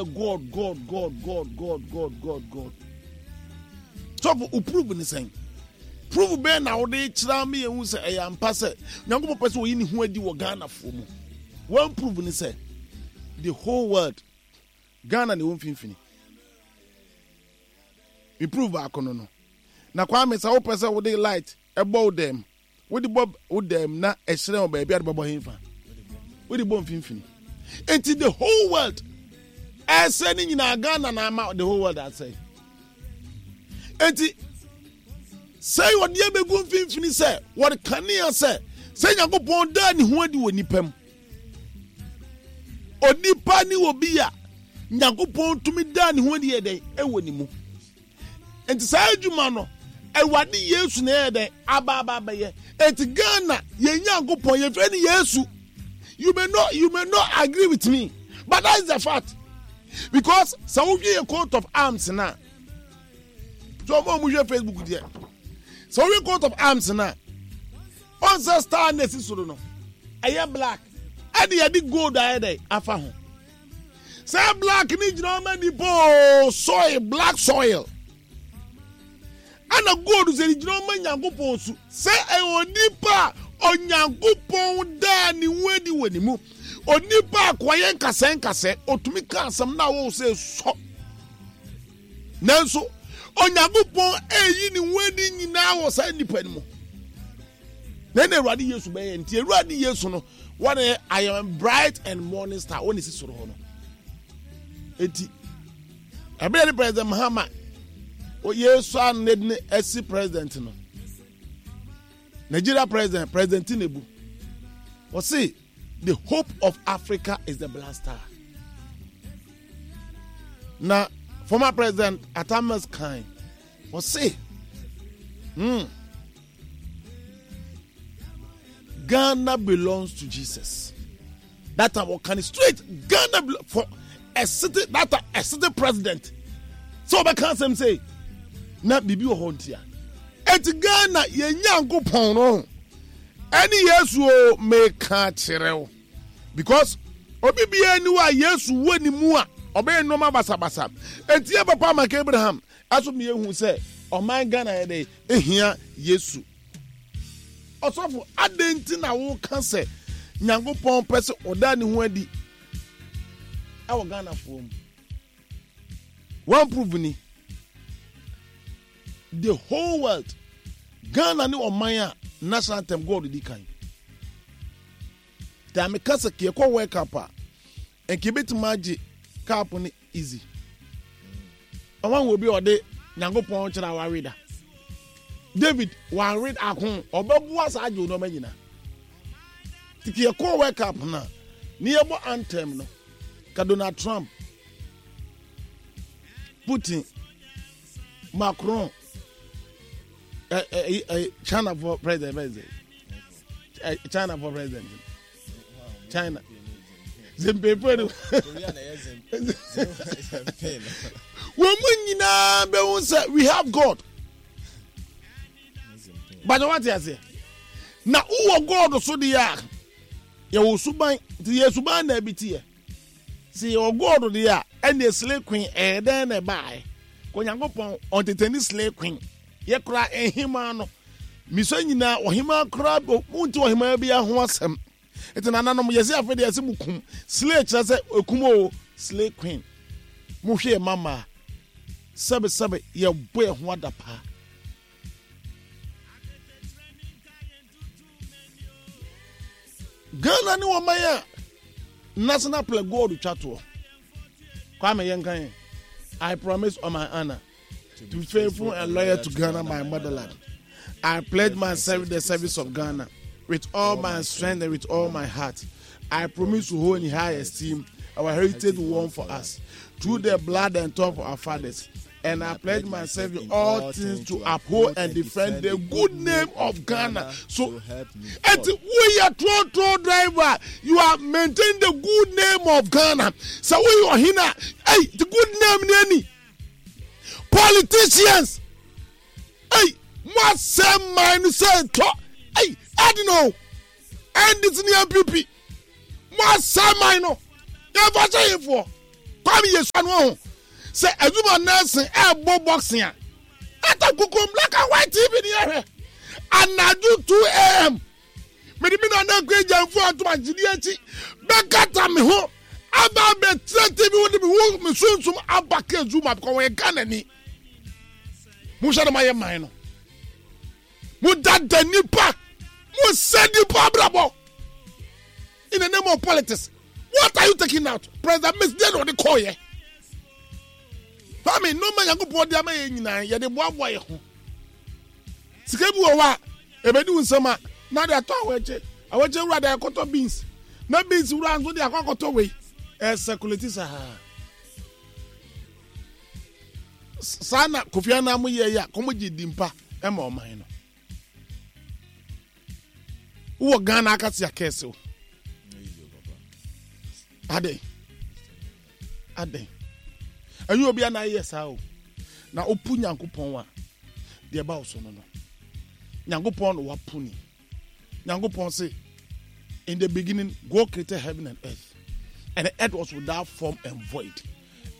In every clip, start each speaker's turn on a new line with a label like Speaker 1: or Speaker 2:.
Speaker 1: yɛ God God God God God God God God. Sɔfo, wo prove ne sɛn? Prove bɛn na wode kyerɛ ama yɛhu sɛ ɛyɛ ampa sɛ Nyankopɔn pɛ sɛ ɔyi ne ho adi wɔ Ghanafoɔ mu? One prove ne sɛ the whole world Ghana na ɛwɔ mfimfini. Me prove baako no no. Na Kwame sɛ wopɛ sɛ wode light ɛbɔ wo dɛm Wode bɔ wo dɛm na ɛhyerɛn wɔ baabi a de bɛbɔ hefa? Wode bɔ mfimfini. Enti the whole world ɛsɛ ne nyinaa Ghana na ama the whole world asɛe. Enti sɛ wɔde abɛgu mfimfini sɛ wɔde kanea sɛ sɛ Nyankopɔn daa ne ho adi wɔ nipa mu. Onipa ne obi a Nyankopɔn tumi daa ne ho adi yɛ dɛn ɛwɔ ne mu. Nti saa adwuma no Awurade Yesu na ɛyɛ dɛn aba aba abɛyɛ. Nti Ghana yɛn Nyankopɔn yɛfrɛ no Yesu. You may not you may not agree with me but that is the fact because sɛ wohwɛ yɛ coat of arms na so ɔmo a ɔmo hwɛ Facebook deɛ sɛ wohwɛ coat of arms na ɔnsɛ star na esi soro no ɛyɛ black ɛde yɛde gold ayɛ dɛn afa ho. Sɛ black ne gyina ɔma nipa o soil black soil ɛna gold sɛ ne gyina ɔma nyankopɔn su sɛ ɛyɛ onipa a onyankopɔn daa ne ho adi wɔ ne mu onipa a kɔyɛ nkasɛ nkasɛ otumi ka asɛm na awɔ sɛ sɔ nanso onyankopɔn ɛyi ne ho adi nyinaa wɔ saa nipa no mu na ɛna awurade yesu bɛyɛ nti awurade yesu no wɔn yɛ i am bright and morning star wɔn esi soro hɔ no eti ɛbɛyɛ ne president mahama yesu aned ne ɛsi president no nigeria president president tinubu wɔsi the hope of africa is the black star na former president atamas kan wɔsi hmm. Ghana belongs to Jesus. That time wɔka no straight Ghana for a city that time a city president. So ɔbɛka asɛm sɛ na biribi wɔ hɔ ntia. Eti Ghana yɛn Nyankopɔn no ɛne Yesu o meka kyerɛ wo because obi biara ni hɔ a Yesu wɔ ne mu a ɔbɛyɛ nneɛma basabasa. Eti yɛ papa Mike Abraham ɛso mmienu sɛ ɔman Ghana yɛ dɛ ehia Yesu. Ɔsɔfo, adɛn nti na woka sɛ Nyankopɔn pɛ sɛ ɔda ne ho adi ɛwɔ Ghanafoɔ mu? One proof ni. The whole world, Ghana ne ɔman a national anthem God di kan. Taa meka sɛ yɛkɔ World Cup a, nka ebetumi agye cup no easy ɔma hu obi a ɔde nyankopɔn kyerɛ a wawe da david wanwe ako ɔbɛboa saa agye nneɛma nyina tiki yɛkɔɔ world cup no a ne yɛbɔ anthem no ka donald trump putin macron eh, eh, eh, china for president president china for president china zimpempe no wɔn mu nyinaa bɛhu sɛ we have god bàtà wate aseɛ na wowɔ god so deɛ a yɛwɔ suban nti yɛ suban na ebi teɛ sɛ yɛwɔ god deɛ a ɛnna slay queen ɛyɛ dɛn na ɛbaeɛ kò nyankopɔn ɔntetani slay queen yɛ kora nhema no Misua nyinaa ɔhemaa koraa wonte ɔhemaa bi ho asɛm. Nti nananom yɛse afei deɛ yɛse mo kum. Slay kyerɛ sɛ ekum o, slay queen. Mohwɛ yɛ mama sɛbe sɛbe yɛbɔ yɛ ho adapaa. Ghana ne ɔman a national play gold twa toɔ. Kwame yɛnka yɛn. I promise on my honor. To be faithful and loyal to Ghana, my motherland. I pledge myself in the service of Ghana with all my strength and with all my heart. I promise to hold in high esteem our heritage won for us through the blood and thought of our fathers. And I pledge myself in all things to uphold and defend the good name of Ghana. So, and we are trotro driver, you are maintaining the good name of Ghana. So we are here, hey, the good name, name. Politicians, hey, mo asɛm man no sɛ ntɔ, hey, adi no, NDC ne NPP, mo asɛm man no, yɛn fa hyɛ yɛn foɔ. Kwame yɛ sua no ho sɛ adwuma nursing ɛɛbɔ boxing a ata kukum black and white tv ni ɛhwɛ anadwo 2 am mede me nana akua agyamfo ato agyede akyi bɛkata me ho aba abɛtena tv wo de me ho me sunsum aba ka zuma because wɔyɛ Ghana ni mohwɛ no mayɛ man no modada nipa mosɛ nipa abrabɔ in the name of politics what are you taking out president miss deɛ na ɔde kɔɔyɛ fami nneɛma nyankopɔn de ama yɛ nyinaa yɛde boaboa yɛ ho sika bi wɔ hɔ a ebedi wo nsam a na de atɔ awɔkye awɔkye wura de akɔtɔ beans na beans wura nso de akɔ akɔtɔ wei ɛsɛkuleti saa saa na kofi annan mo yɛ yɛ a kɔmɔ gye di mpa ɛma ɔman no wowɔ ghana akasi akɛse o adɛn adɛn ɛnyɛ obi a na ayɛ saa o na wopu nyankopɔn a deɛ ɛba wo so no no nyankopɔn na wapo ni nyankopɔn se in the beginning god created heaven and earth and the earth was without form and void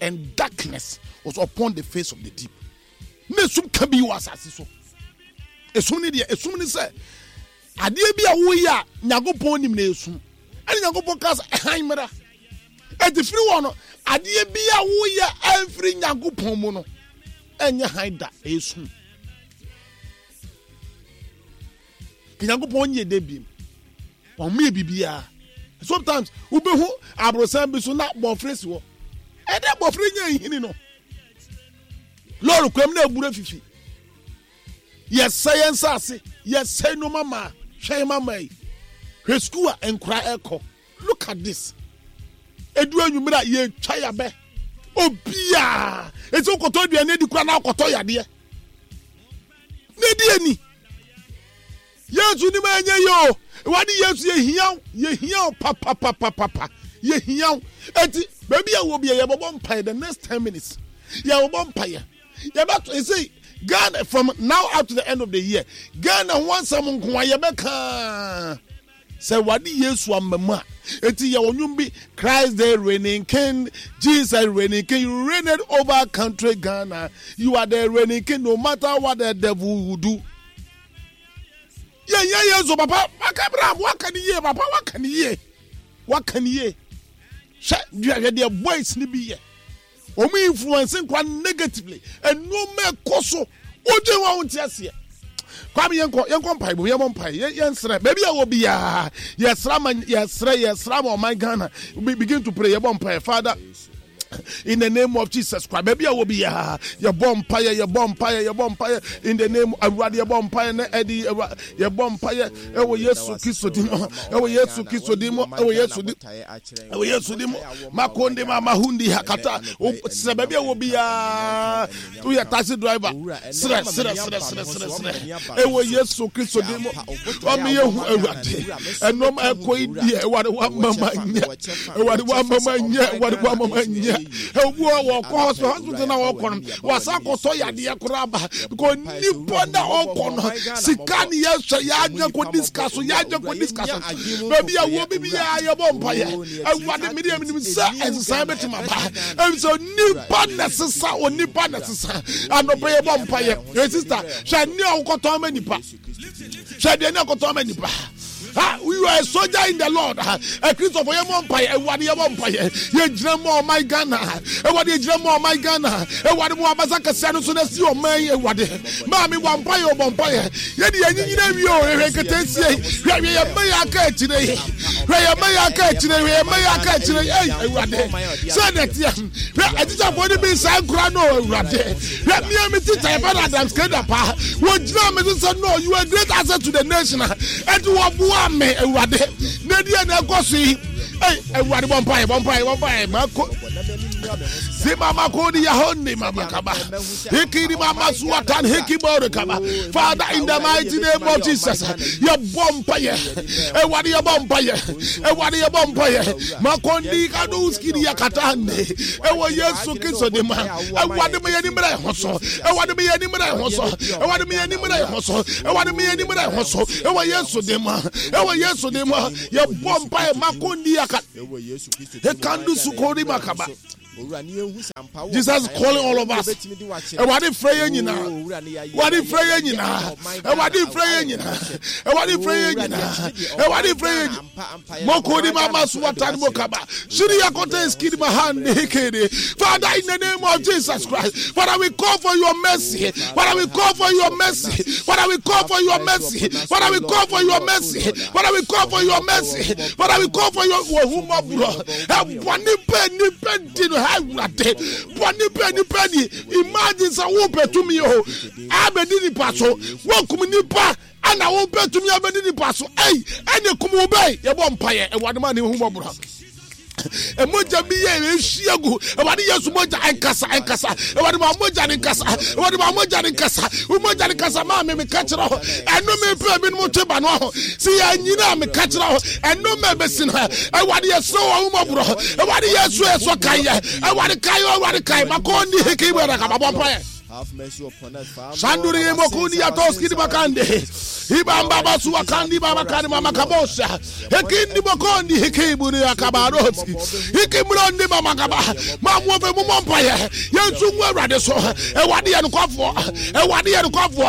Speaker 1: and darkness was upon the face of the deep na esum ka bi wɔ asase so esum ne deɛ esum ne sɛ adeɛ bi a woyɛ a nyankopɔn nim na esum ɛne nyankopɔn ka sɛ ɛhan mmra ɛti firi wɔ no adeɛ bi a woyɛ ɛmfiri nyankopɔn mu no ɛnyɛ han da esum nyankopɔn nyɛ dɛ biem wɔn yɛ biribiara sometimes wobɛhu aborosan bi so na bɔfrɛ si hɔ ɛdɛ bɔfrɛ nya nhini no lɔɔre kwam na abura fifi yɛsɛ yɛn nsaase yɛsɛ nneɛma maa hwɛ yɛn mama yi hwɛ sukuu a nkora ɛkɔ look at this edu anwummerɛ a yɛtwa yabɛ obiara eti wokɔtɔ aduane adi kora na akɔtɔ yadeɛ na edi ani Yesu nim a ɛnyɛ yie o. Awurade Yesu yɛhia wo, yɛhia wo papapapapa, yɛhia wo. Eti baabi a wɔ bia yɛbɛbɔ mpaeɛ the next ten minutes. Yɛbɛbɔ mpaeɛ. Yɛbɛto ɛsɛ Ghana from now up to the end of the year. Ghana ho asɛm nko a yɛbɛka. Sɛ Awurade Yesu amma mu a, eti yɛwɔ nnwom bi, Christ the reigning king, Jesus reigning king, you reigned over country Ghana, you are the reigning king no matter what the devil will do. Yɛnyɛ Yesu papa, waka Abraham, waka ne yie papa, waka ne yie, waka ne yie. Hwɛ hwɛ deɛ boys ni bi yɛ. Wɔn influence nkwa negatively. Nneɛma ɛkɔ so. Wodwen wɔn ho nte aseɛ. Kwame yɛnkɔ yɛnkɔ mpae bom yɛmmɔ mpae yɛnsrɛ baabi a wɔ biara yɛsrɛ ma yɛsrɛ yɛsrɛ ma ɔman Ghana we begin to pray yɛbɔ mpae Father in the name of Jesus Christ baabi a wɔ biara yɛbɔ mpaeɛ yɛbɔ mpaeɛ yɛbɔ mpaeɛ in the name awurade yɛbɔ mpaeɛ na ɛde yɛbɔ mpaeɛ ɛwɔ Yesu Kristo din mu ɛwɔ Yesu Kristo din mu ɛwɔ Yesu din ɛwɔ Yesu din mu makonde ma mahundi hakata srɛ baabi a wɔ biara woyɛ taxi driver srɛ srɛ srɛ srɛ srɛ srɛ ɛwɔ Yesu Kristo din mu ɔmo yɛ hu awurade ɛnɔm ɛkɔ yi deɛ ɛwɔde wama ma nyɛ ɛwɔde wama ma nyɛ ɛwɔde wama ma nyɛ ɛwɔ wɔ kɔ hospital hospital na wɔkɔ no wasa akɔtɔ yadeɛ koraa ba because nipa na ɔkɔ no sika ne yɛhwɛ yɛadwene kɔ di sika so yɛadwene kɔ di sika so baabi a wɔ bibi a yɛbɔ mpaeɛ awurade mede menim sɛ ɛnsesaeɛ bɛtumi aba ɛfisɛ onipa na ɛsesa onipa na ɛsesa anɔpɛ yɛbɔ mpaeɛ ɛ sista hwɛ ne a wokɔtɔn ma nipa hwɛ deɛ ne akɔtɔn ama nipa Ah, you are a soldier in the Lord. A Christopher, yɛ mɔ mpaeɛ. Awurade yɛ mɔ mpaeɛ. Yɛ gyina mɔ ɔman Ghana. Awurade yɛ gyina mɔ ɔman Ghana. Awurade mo abasa kɛseɛ no so na si ɔman yi Awurade. Maame bɔ mpaeɛ o bɔ mpaeɛ. Yɛ de yɛn nyinyina wie o. Hwɛ nketeesie. Hwɛ hwɛ yɛn mma yɛ aka akyire yi. Hwɛ yɛn mma yɛ aka akyire yi. Hwɛ yɛn mma yɛ aka akyire yi. Ei Awurade. Sɛ na ɛteɛ. Hwɛ atikyafoɔ no bi nsa nkura no Awurade. Hwɛ me a me teacher yɛfrɛ no Adams Keda paa wɔgyina me so sɛ no you are a great asset to the nation a ɛnti wɔboa me awurade na ɛdeɛ na ɛkɔ so yi ei awurade bɔ mpaeɛ bɔ mpaeɛ bɔ mpaeɛ mako zima mako di yahoni mama kaba hikiri mama suwatan hikibori kaba Father in the mighty name of Jesus yɛbɔ mpaeɛ awurade yɛbɔ mpaeɛ awurade yɛbɔ mpaeɛ makondi kaduski di yakatande ɛwɔ Yesu Kristo di ma Awurade ma yɛn ani mmra yɛn ho so. Awurade ma yɛn ani mmra yɛn ho so. Awurade ma yɛn ani mmra yɛn ho so. Awurade ma yɛn ani mmra yɛn ho so. Ɛwɔ Yesu din mu. Ɛwɔ Yesu din mu. Yɛbɔ mpaeɛ mako ndi aka. Ekandu sukori makaba. Jesus is calling all of us. Awurade frɛ yɛn nyinaa. Awurade frɛ yɛn nyinaa. Awurade frɛ yɛn nyinaa. Awurade frɛ yɛn nyinaa. Awurade frɛ yɛn nyinaa. Mokodi mama suwatani mokaba. Shiri yakote skidi mahandi hikidi. Father, in the name of Jesus Christ, Father, we call for your mercy. Father, we call for your mercy. Father, we call for your mercy. Father, we call for your mercy. Father, we call for your mercy. Father, we call for your wahumabro. Bɔne bɛn nipa di no ha awurade bɔne bɛn nipa di imagine sɛ wopɛ tumi o abɛdi nipa so wokum nipa ɛna wopɛ tumi abɛdi nipa so ɛyi ɛne kum wo bɛyi yɛbɔ mpaeɛ awurade ma ne hu mɔborɔ mogya bi yɛ ehyia gu awurade yesu mogya ɛnkasa ɛnkasa awurade ma mogya ne nkasa awurade ma mogya ne nkasa wo mogya ne nkasa maa me meka kyerɛ hɔ ɛno me pɛ binom twe ba no ho si yɛ nyina a meka kyerɛ hɔ ɛno ma ɛbɛsi no awurade yɛsrɛ wɔ ahomɔborɔ awurade yesu ɛsɔ kaeɛ awurade kaeɛ awurade kae makɔ ni heke bɛrɛ ka mabɔ mpaeɛ Sanduri mokuni ya toski di bakande. Ibamba basu akandi baba kani mama kabosha. Hekindi bokondi hekiburi akabaroski. Hikimrondi mama kaba. Mamu ofe mu mpaye. Yensu ngu awurade so. Awurade yɛ nokwafoɔ. Awurade yɛ nokwafoɔ.